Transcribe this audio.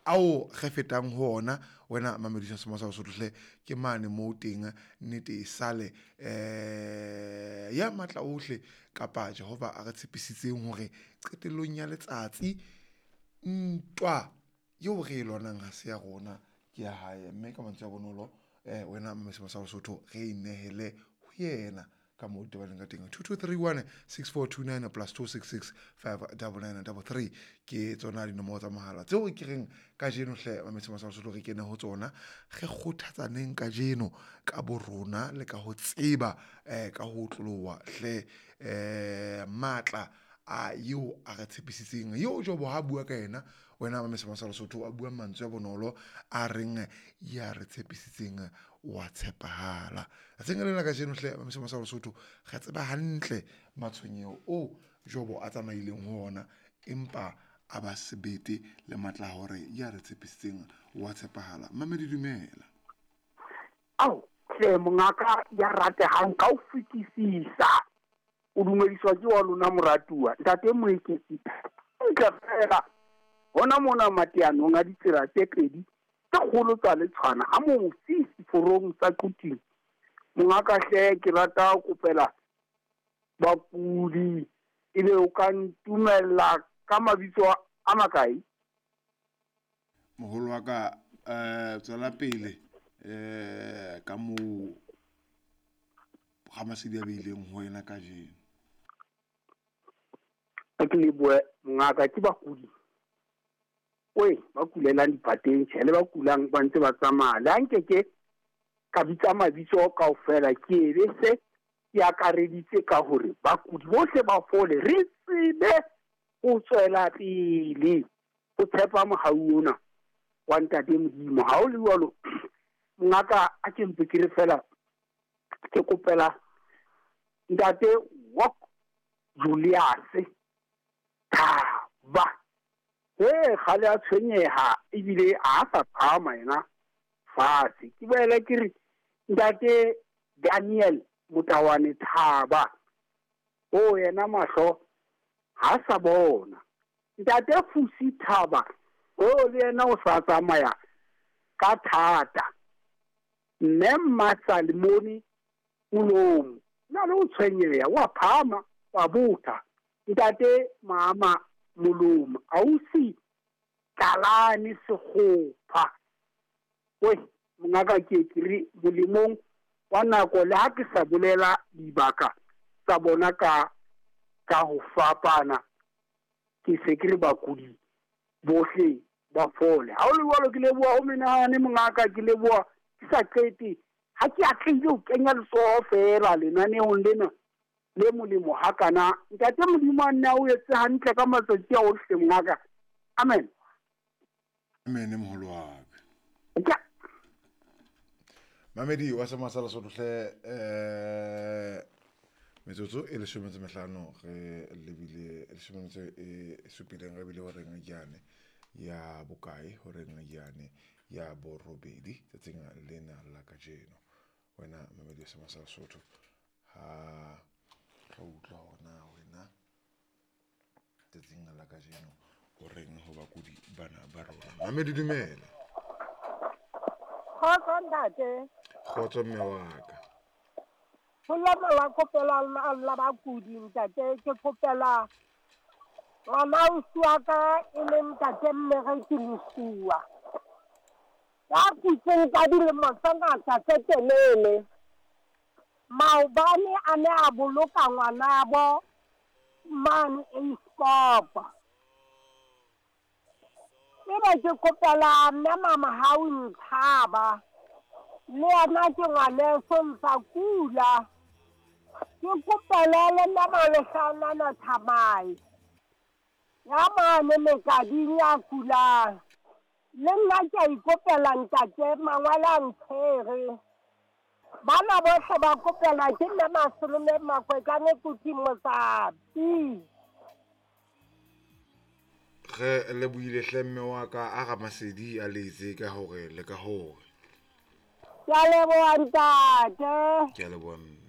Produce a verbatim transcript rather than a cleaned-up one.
Ao re fetang ho ona wena mamedisa sema sa Lesotho hle, ke mane moo teng nnete e sale eh ya matla ohle kapa Jehova a re tshepisitseng hore qetellong ya letsatsi ntwa eo re e lwanang ha se ya rona, ke ya hae. Mme ka mantswe a bonolo eh wena mamedisa sa Lesotho re inehele ho yena ka moo tebaleng ka teng. Two two three one six four two nine plus two six six five double nine double three ke tsona dinomoro tsa mohala tseo ke reng kajeno hle mamedisa sa Lesotho re kene ho tsona, re kgothatsaneng kajeno ka bo rona le ka ho tseba eh ka ho otloloha hle eh matla a eo a re tshepisitseng eo Jobo ha bua ka yena wena mamedisa sa Lesotho a bua mantswe a bonolo a reng ya re tshepisitseng wa tshepahala. Tsatsing lena kajeno hle mamedisa sa Lesotho re tseba hantle matshwenyeho o Jobo a tsamaileng ho ona, empa a ba sebete le matla hore ya re tshepisitseng wa tshepahala. Mamedi dumela. Ao hle mongaka ya ratehang ka ho fetisisa, o dumediswa ke wa lona moratuwa ntate Moeketsi ntle fela hona mona mateanong a ditsela tse pedi tse kgolo tsa Letshwana ha mofi seforong sa Quthing. Mongaka hle ke rata ho kopela bakudi, ebe o ka ntumella ka mabitso a makae? Moholo wa ka eh tswela pele eh ka moo Ramasedi a beileng ho wena kajeno. Ke lebohe mongaka, ke bakudi oe ba kulelang dipateng tjhe, le ba kulang ba ntse ba tsamaya. Le ha nkeke ka bitsa mabitso kaofela, ke ebe se ke akareditse ka hore bakudi bohle ba fole, re tsebe ho tswela pele ho tshepa mohau ona wa ntate Modimo. Ha o le jwalo mongaka, a ke mpe ke re fela ke kopela ntate Wok Julius Thaba. Eh kgale a tshwenyeha ebile a sa phahama yena fatshe. Ke boele ke re ntate Daniel Motawane Thaba, o yena mahlo ha sa bona. Ntate Fusi Thaba, o le yena o sa tsamaya ka thata. Mme Mmasalimoni Molomo na le o tshwenyeha, wa phahama wa botha. Ntate Mama Molomo ausi Kalane Sekgopha, we mongaka ke ke re molemong wa nako le ha ke sa bolela dibaka tsa bona ka ka ho fapana, ke se ke re bakudi bohle ba fole. Ha o le jwalo ke leboha ho menahane mongaka, ke leboha ke sa qete ha ke atlehile ho kenya letsoho fela lenaneong lena le molemo hakana. Ntate Modimo a nne a o etse hantle ka matsatsi a ohle mongaka. Amen. Amen moholo wa ka. Mamedi wa sema sa Lesotho hle eh metsotso e leshome tse mehlano re lebile leshome metso e supileng re bile horeng yane ya bokae, horeng yane ya borobedi tsatsing lena la kajeno. Wena mamedi wa sema sa Lesotho ha re utlwa hona wena tsatsing la kajeno horeng ho bakudi bana ba rona. Mamedi dumela. Kgotso ntate. Kgotso mme wa ka. Ho la kopela la bakudi ntate, ke kopela ngwana ausi wa ka e leng ntate Mmereki Mosuwa ya kutseng ka dilemo tse ngata tse telele. Maobane a ne a boloka ngwanabo mane Eiskopa. Ebe ke kopela mme mama hau nthaba le yena ke ngwaneso ntsa kula. Ke kopela le mme Malehlanana Thamai ya mane Mekading ya kulang. Le nna ke a ikopela ntate mangwele a ntshwere. Bana bohle ba kopela ke mme Masolome Makwekane Kuting Motsapi. Re lebohile hle mme wa ka a Ramasedi a letse ka hore le ka hore. Ke a leboha ntate. Ke a leboha mme.